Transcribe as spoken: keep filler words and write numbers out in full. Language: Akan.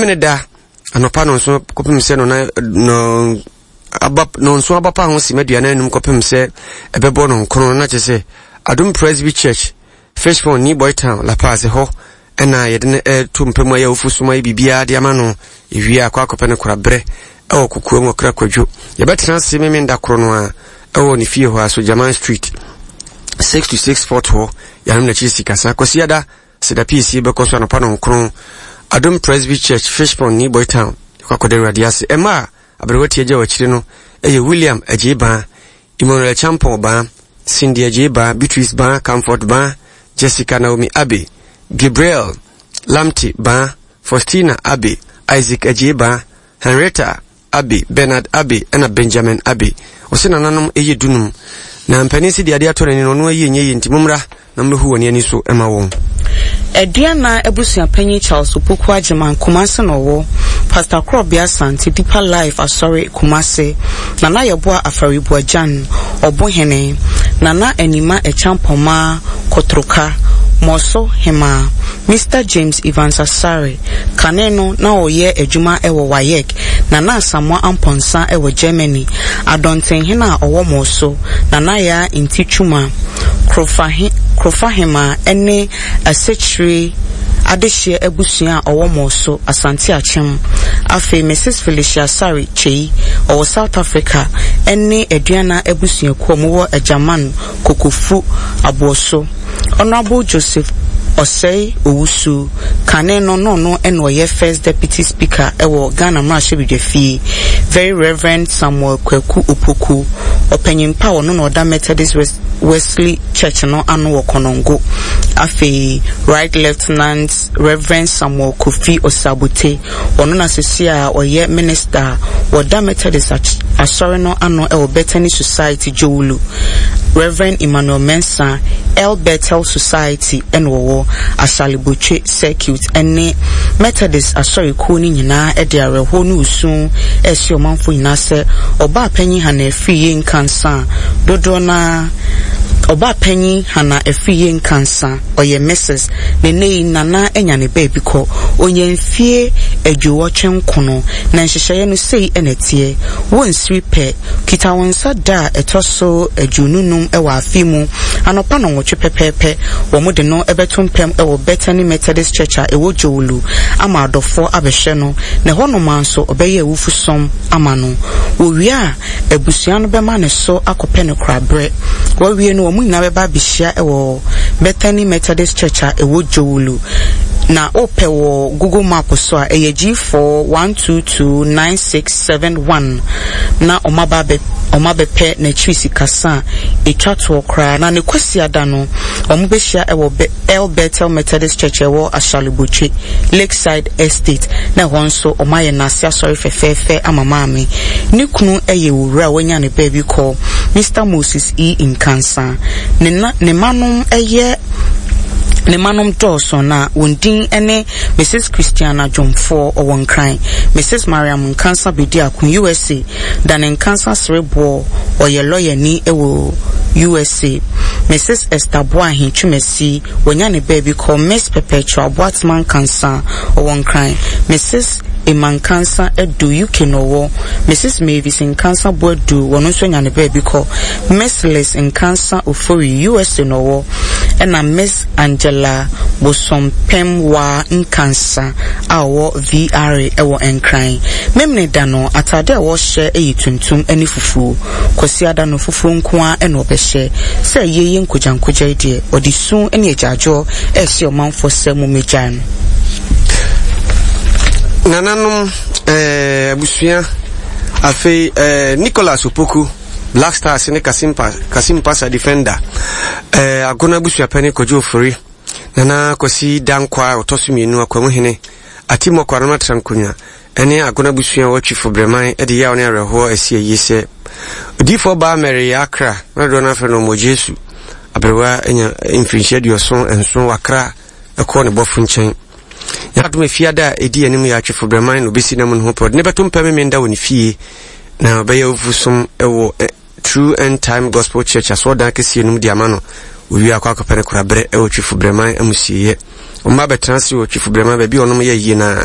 Memene da anɔpa no nso kɔpem sɛ no na no aba no nso aba pa ho sima aduanan anum kɔpem sɛ ɛbɛbɔ no nkono, na kyerɛ sɛ Adom Presby Church, Fish Pond, New Boy Town, La Paz hɔ ɛna yɛde no ɛto mpɛ mu ayɛ awofo som ayɛ biribiara de ama no. Ewie akɔ akɔpɛ no koraberɛ ɛwɔ kokoa mu ɔkra kwadwo. Yɛbɛtena ase Memenda koro no a ɛwɔ ne fie hɔ a so German Street six to six fort hɔ, yɛanom n'akyi sikasa. Kwasiada seda piesie bɛkɔ so anɔpa no nkron, Adom Presby Church, Fish Pond, New Boy Town. Yɛkɔ akɔda Awurade ase. Ɛma a aberewa tie agya wɔ akyire no ɛyɛ William Agyei Baa, Emmanuel Champon Baa, Cindy Agyei Baa, Beatrice Baa, Comfort Baa, Jessica Naomi Abe, Gabriel Lamte Baa, Faustina Abe, Isaac Agyei Baa, Henrietta Abe, Bernard Abe ɛna Benjamin Abe. Ɔsɛ nananom ɛyɛ dunum na mpanin si de adeɛ atɔ n'ani no ɔno ayi nyɛ yie, nti mommra na mmɛhu wɔn ani so ɛma wɔn. Aduana abusuapanyin Charles Opoku Agyeman, Kumase na ɔwɔ. Pastor Korɔbea Asante, Deeper Life Asɔre, Kumase. Nana Yɛboa Afaribuagyan, Ɔbohene. Nana Anima Ɛkyampɔmaa Kotroka, Mɔso Hema. Mister James Evans Asare, kane no na ɔyɛ adwuma ɛwɔ WAEC. Nana Asamoah Ampɔnsa ɛwɔ Germany. Adɔntenhene a ɔwɔ Mɔso, Nana Yaa Nti Twuma, Krofahema ɛne Asekyire adehyeɛ abusua a ɔwɔ Mɔso, Asante Akyem. Afei Missus Felicia Sare Kyei, ɔwɔ South Africa, ɛne Aduana abusuakuo a wɔwɔ Agyaman Kokofu Aboɔso. Honorable Joseph Osei Owusu, kane no no no ɛna ɔyɛ First Deputy Speaker ɛwɔ Ghana mmarahyɛbadwafie. Very Reverend Samuel Kwaku Opoku, ɔpanyin pa a ɔno na ɔda Methodist Wesley Church no ano wɔ Konongo. Afei Right Lieutenant Reverend Samuel Kofi Osabote, ɔno na sisi a ɔyɛ minister wɔda Methodist asɔre no ano ɛwɔ Bethany Society, Jowulu. Reverend Emmanuel Mensah, El Bethel Society ɛna wɔwɔ Asalibotwe Circuit, ɛne Methodist asɔre kuo no nyinaa ɛde awerɛhoɔ ne osu ɛsi ɔmanfo nyinaa sɛ ɔbaa panyin Hana Afriyie Nkansa, dodoɔ naa ɔbaa panyin Hana Afriyie Nkansa, ɔyɛ Missus Ne nne yi Nana anya ne baabi kɔ. Onya mfie aduowɔtwe nkono na nhyehyɛeɛ no sei ɛna ɛteɛ. Wɔnsiri pɛ kita wɔn nsa da a ɛtɔ so aduonu num ɛwɔ afe mu anɔpa nɔnwɔtwe pɛpɛɛpɛ, wɔn de no ɛbɛto mpɛm ɛwɔ Bethany Methodist Church a ɛwɔ Jowulu ama adɔfoɔ abɛhwɛ no, na ɛhɔnom nso ɔbɛyɛ awufu som ama no. Wɔwie a, abusua no bɛma ne so akɔpɛ no koraberɛ. Wɔwie no, wɔn nyinaa bɛba abɛhyia ɛwɔ Bethany Methodist Church a ɛwɔ Jowulu. Na wopɛ wɔ Google Map so a, ɛyɛ G four one two two nine six seven one, na ɔmo aba abɛ ɔmo abɛpɛ n'akyiri sikasa a etwa toɔ koraa. Na ne Kwasiada no, ɔmo bɛhyia ɛwɔ Be El Bethel Methodist Church ɛwɔ Asalibotwe Lakeside Estate, na ɛhɔ nso ɔmo ayɛ n'ase asɔre fɛfɛɛfɛ ama maame. Ne kunu ɛyɛ owura a wanya ne baabi kɔ, Mister Moses E Nkansa. Ne na ne manom ɛyɛ ne manom dɔɔso, na wɔn din ne Missus Christiana Dwomfoɔ, ɔwɔ Nkran, Missus Mariam Nkansa Bediako, U S A, Dane Nkansa Sereboɔ, ɔyɛ lɔyani wɔ U S A, Missus Esther Boahen Twumasi, wɔnya ne baabi kɔ, Miss Perpetua Boatema Nkansa, ɔwɔ Nkran, Missus Emma Nkansa Edu, U K na ɔwɔ, Missus Mavis Nkansa Boadu, wɔn nso anya ne baabi kɔ, Miss Liz Nkansa Ofori, U S A na ɔwɔ, ɛna Miss Angela Bosompemwa Nkansa a ɔwɔ V R A ɛwɔ Nkran. Memene da no, atade a wɔhyɛ yɛ tuntum ne fufuo. Kwasiada no, fufuo nko ara ɛna ɔbɛhyɛ. Sɛ yie yɛ nkogyankogya yi deɛ, ɔde su ne agyaadwoɔ ɛrehyɛ ɔmanfoɔ sɛ mommɛgyae no. Nananom, eh, abusua, afei eh, Nicholas Opoku, Black Stars ne Kasimpa, Kasimpasa defender, eh, Agona abusuapɛne Kwadwo Ofori, Nana Kwasi Dankwa a ɔtɔ so mmienu, Akwamuhene Atimɔkɔ Anam Atra Nkonnwa ɛne Agona abusua a wɔatwifo Brɛman de yaw ne awerɛhoɔ asi ayie sɛ odiyifoɔ baa Mary yɛ akra na dodoɔ no afrɛ no ɔmɔ Jesu aberewa anya mfirinhyia aduɔson nson, wakra ɛkɔɔ ne bɔfo nkyɛn. Yɛadom efiada a ɛdi anim yɛ atwefo Brɛman na obɛsi nam no ho pɛ ɔde ne bɛto mpɛ memenda wɔ ne fie, na ɔbɛyɛ awufosom ɛwɔ True End Time Gospel Church asɔɔdan kɛseɛ no mu de ama no. Owie akɔ akɔpɛ no koraberɛ ɛwɔ Twifo Brɛman amusieɛ. Ɔmma bɛtena ase wɔ Twifo Brɛman baabi a ɔnom yɛ yie na